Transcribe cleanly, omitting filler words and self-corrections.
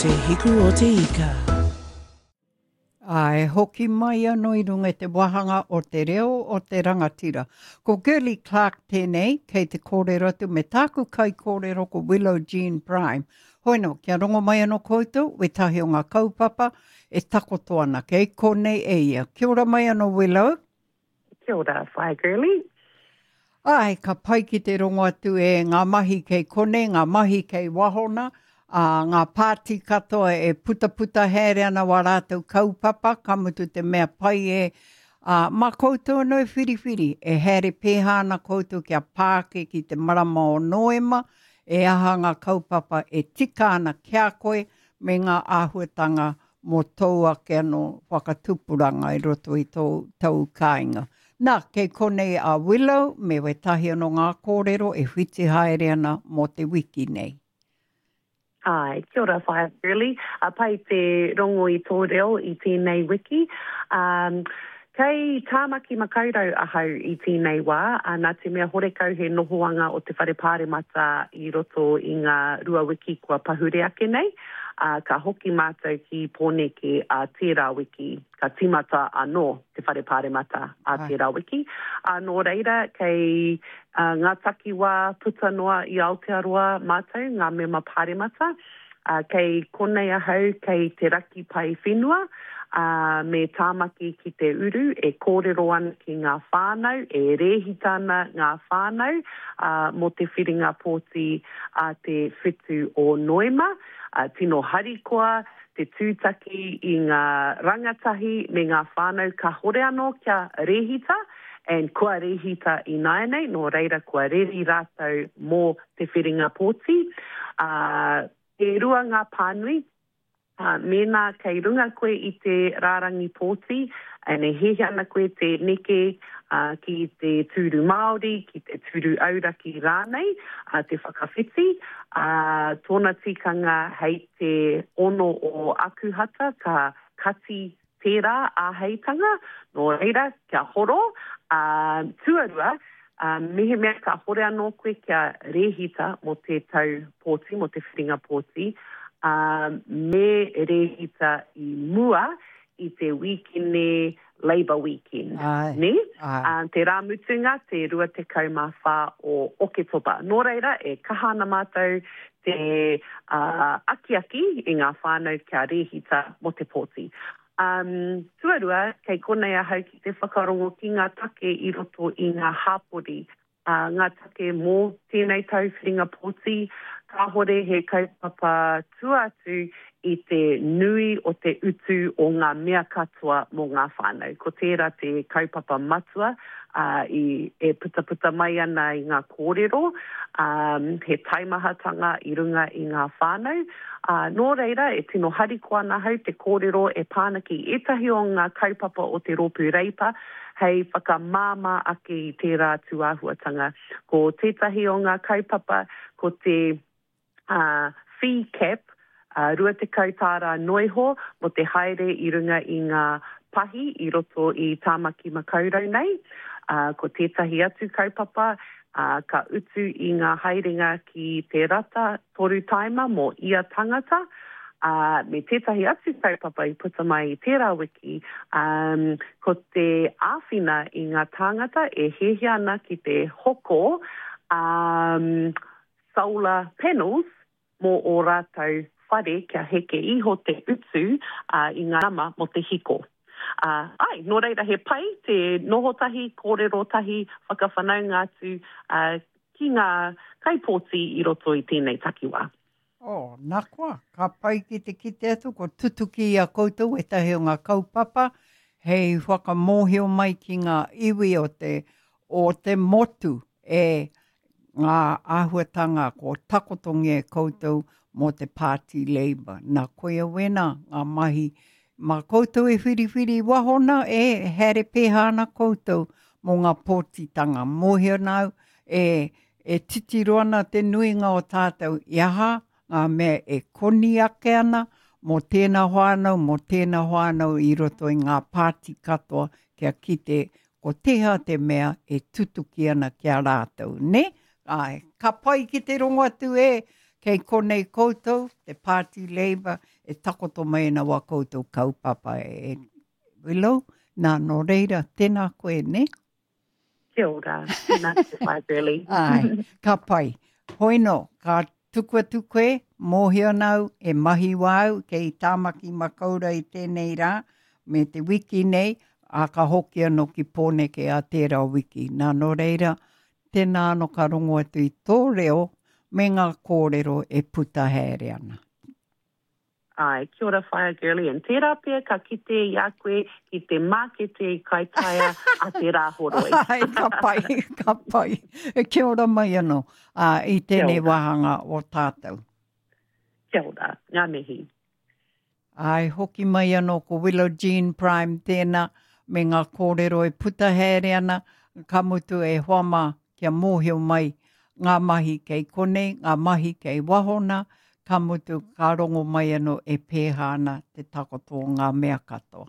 Te Hiku o te Ika. Ā, e hoki mai anō i runga i te wāhanga o te reo o te rangatira. Ko Girlie Clarke tēnei, kei te kōrero atu me tāku kaikōrero ko Willow Jean Prime. Hoeno, kia rongo mai anō koutou, wētahi o ngā kaupapa e takoto ana kei konei e ia. Kia ora mai anō Willow. Kia ora, Whaea Girlie. Āe, ka pai ki te rongo atu e ngā mahi kei konei, ngā mahi kei waho nā, ā, ngā pāti katoa e putaputa haere ana wā rātou kaupapa, ka mutu te mea pai e, ā, mā koutou anō e whiriwhiri, e haere pēhā ana koutou kia pā ake ki te marama o Noema, e aha ngā kaupapa e tika ana ki a koe me ngā āhuatanga mō tōu ake anō whakatupuranga i roto i tōu tau kāinga. Nā, kei konei a Willow me wētahi anō ngā kōrero e whiti haere ana mō te wiki nei. Āe, kia ora Whaea Shirley. A pai te rongo i tō reo i tēnei wiki. Um, kei Tāmaki Makaurau ahau i tēnei wā, ā, nā te mea horekau he nohoanga o te Whare Pāremata i roto i ngā rua wiki kua pahure ake nei, ā, ka hoki mātou ki Pōneke ā tērā wiki. Ka tīmata anō te Whare Pāremata ā tērā wiki. Ā, nō reira, kei ngā takiwā puta noa i Aotearoa mātou, ngā mema Pāremata. Ā, kei konei ahau kei te raki pae whenua, ā, me Tāmaki ki te uru e kōrero ana ki ngā whānau, e rēhita ana ngā whānau, ā, mō te whiringa pōti a te whitu o Noema. Ā, tino harikoa te tūtaki i ngā rangatahi me ngā whānau kahore anō kia rēhita, and kua rēhita ināianei, nō reira kua reri rātou mō te whiringa pōti. Ā, e rua ngā pānui, ā, mēnā kei runga koe i te rārangi pōti, and e hiahia ana koe te neke, ā, ki te tūru Māori, ki te tūru auraki rānei, ā, te whakawhiti, ā, tōna tikanga hei te ono o Akuhata ka kati tērā āheitanga, nō reira, kia horo, ā, tuarua, ā, mehemea ka hore anō koe kia rēhita mō te tau pōti, mō te whiringa pōti, ā, me rēhita i mua i te wīkene Labour weekend, nē? Ā, te rā mutunga, te 24 o Oketopa. Nō reira, e kaha ana mātou te akiaki i ngā whānau kia rēhita mō te pōti. Tuarua, kei konei ahau ki te whakarongo ki ngā take i roto i ngā hāpori. Ā, ngā take mō tēnei tau whiringa pōti, kāhore he kaupapa tua atu i te nui o te utu o ngā mea katoa mō ngā whānau. Ko tērā te kaupapa matua, ā, i, e putaputa mai ana i ngā kōrero, ā, he taimahatanga i runga i ngā whānau. Ā, nō reira, e tino harikoa ana ahau te kōrero e pā ana ki ētahi o ngā kaupapa o te Rōpū Reipa, hei whakamāmā ake i tērā tūāhuatanga. Ko tētahi o ngā kaupapa ko te fee cap, 20 tāra noiho mō te haere i runga i ngā pahi i roto i Tāmaki Makaurau nei. Ko tētahi atu kaupapa, ka utu i ngā haerenga ki te rata toru taima mō ia tangata, ā, me tētahi atu kaupapa i puta mai i tērā wiki, ā, ko te āwhina i ngā tāngata e hiahia ana ki te hoko, ā, solar panels mō ō rātou whare kia heke iho te utu, ā, i ngā nama mō te hiko. Ā, āe, nō reira he pai te noho tahi, kōrero tahi, whakawhanaunga atu, ā, ki ngā kaipōti i roto i tēnei takiwā. Oh, nā koa, ka pai ki te kite atu ko tutuki i a koutou ētahi o ngā kaupapa hei whakamōhio mai ki ngā iwi o te, o te motu e ngā āhuatanga ko takotongia e koutou mō te Pāti Labour. Nā, koia wēnā ngā mahi Mā koutou e whiriwhiri i waho na, e haere pēhā ana koutou mō ngā pōtitanga. Mōhio ana au, e, e titiro ana te nuinga o tātou i aha ngā mea e koni ake ana mō tēnā whānau, mō tēnā whānau i roto i ngā pāti katoa kia kite ko tēhea te mea e tutuki ana ki a rātou, nē? Āe, ka pai ki te rongo atu e! Kei konei koutou, te Pāti Labour, e takoto mai ana wā koutou kaupapa e Willow. Nā, nō reira, tēnā koe, nē? Kia ora, tēnā koe Whaea Girlie. Āe, ka pai. Hoi nō, ka tuku atu koe, mōhio ana au, e mahi wā au kei Tāmaki Makaurau i tēnei rā, me te wiki nei, ā, ka hoki anō ki Pōneke ā tērā wiki. Nā, nō reira, tēnā anō ka rongo atu i tō reo me ngā kōrero e puta haere ana. Āe, kia ora Whaea Girlie, and tērā pea ka kite i a koe ki te mākete i Kaitaia a te Rāhoroi. Āe, ka pai, ka pai. Kia ora mai anō ā, i tēnei wāhanga o tātou. Kia ora, ngā mihi. Āe, hoki mai anō ko Willow Jean Prime tēnā, me ngā kōrero e puta haere ana, ka mutu e hoa mā kia mōhio mai ngā mahi kei konei, ngā mahi kei waho nā, ka mutu ka rongo mai anō e pēhā ana te takoto o ngā mea katoa.